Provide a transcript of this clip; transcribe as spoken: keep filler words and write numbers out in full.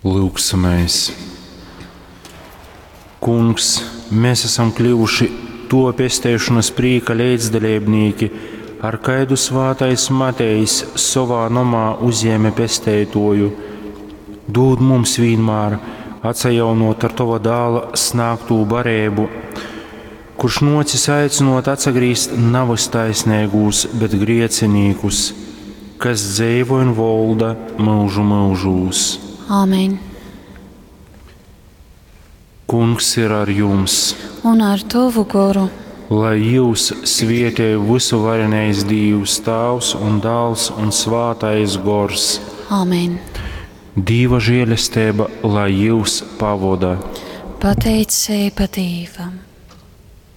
Lūgsimies! Kungs, mēs esam kļuvuši to pesteišanas prīka leidzdaleibnīki, ar kaidu svātais Matejs sovā nomā uzjēme pesteitoju. Dūd mums vienmēr atsajaunot ar tova dāla snāgtū barēbu, kurš nocis aicinot atsagrīzt navys taisnīgūs, bet griecinīkus, kas dzeivo un volda mūžu mūžūs. Āmen. Kungs ir ar jums, Un ar tovu goru. Lai jūs svietēj visu varenais Dīvs, Tāvs un Dāls un Svātais Gors. Āmen. Dīva žēlestība, lai jūs pavoda. Pateicība Dīvam.